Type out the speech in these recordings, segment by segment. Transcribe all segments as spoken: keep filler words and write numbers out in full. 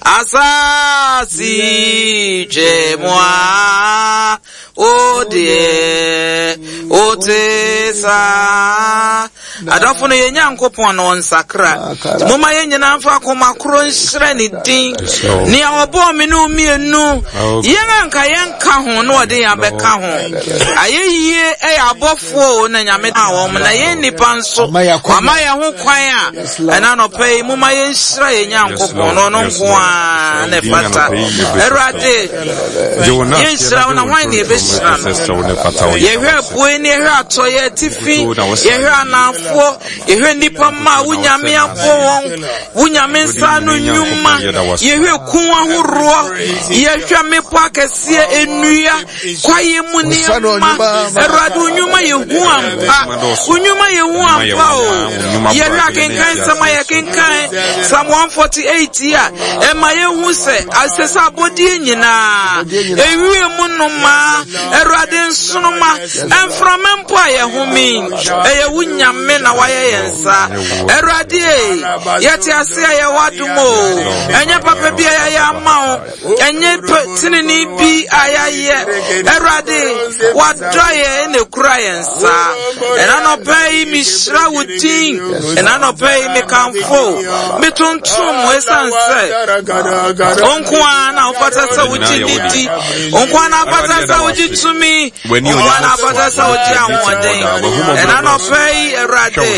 Asase twɛ mu a, wo deɛ wote saa. Adɔfo no, yɛn Nyankopɔn no ɔnsakra. Momma yɛn nyinaa mfa akoma koro nhyerɛ ne din. Nea ɔbɔɔ me ne wo mmienu, yɛn anka yɛnka ho na ɔde yɛn abɛka ho. Ayɛ yie ɛyɛ abɔfoɔ o na Nyame ma wɔn, na yɛn nnipa nso wama yɛn ho kwan a ɛna anɔpa yi momma yɛnhyira yɛn Nyankopɔn na ɔno nko ara na ɛfata. Awurade, yɛnhyira wo na hwan na yɛbɛhyira no? Yɛhwɛ apuei ne yɛhwɛ atɔeɛ, atifi, yɛhwɛ anaafoɔ, yɛhwɛ nnipa mma a wo Nyame abɔ wɔn, wo Nyame nsa ano nnwuma, yɛhwɛ kun ahoroɔ, yɛhwɛ mmepɔ akɛseɛ, nnua, kwaeɛ mu nneɛma. Awurade, wo nnwuma yɛ hu ampa, wo nnwuma yɛ hu ampa o. Yɛhwɛ akenkan nsɛm a yɛkenkan Psalm one forty-eight yi a, ɛma yɛhu sɛ asɛ sɛ abɔdeɛ nyinaa, ewie mu nnomaa, Awurade, nsoroma, mframa mpo a yɛhome, ɛyɛ wo Nyame na wayɛ yɛn nsa. Awurade e, yɛte ase a yɛwɔ adom o. Ɛnyɛ papa bi a yɛayɛ ama wo, ɛnyɛ tenene bi a yɛayɛ. Awurade, wadɔ yɛn na ekura yɛn nsa. Ɛna nɔpɛ yi mehyira wo din, ɛna nɔpɛ yi mekamfo, metontom, ɛsiane sɛ wo nko ara na wofata sɛ wogye ne di, wo nko ara na wofata sɛ wogye tumi, wo nko ara na wofata sɛ wogye ahoɔden. Ɛna nɔpɛ yi, Awurade,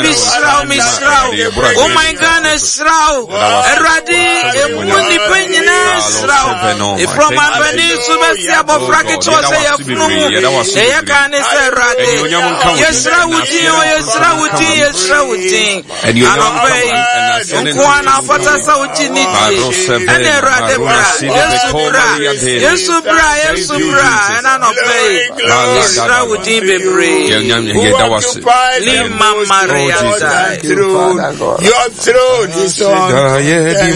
mehyira wo, mehyira wo. Wo man Ghana hyira wo. Awurade, emu nnipa nyinaa hyira wo, ɛfiri ɔmanpanin so bɛsi abɔfra ketewa sɛ yɛfunu mu. Ɛyɛ ka ne sɛ, Awurade, yɛhyira wo din o, yɛhyira wo din, yɛhyira wo din. Anɔpɛ yi nko ara na wofata sɛ wogye ne die. Ɛne Awurade, bra, Yesu bra, Yesu bra, Yesu bra. Ɛna anɔpɛ yi yɛhyira wo din bebree. Lima Maria. Your throne is on.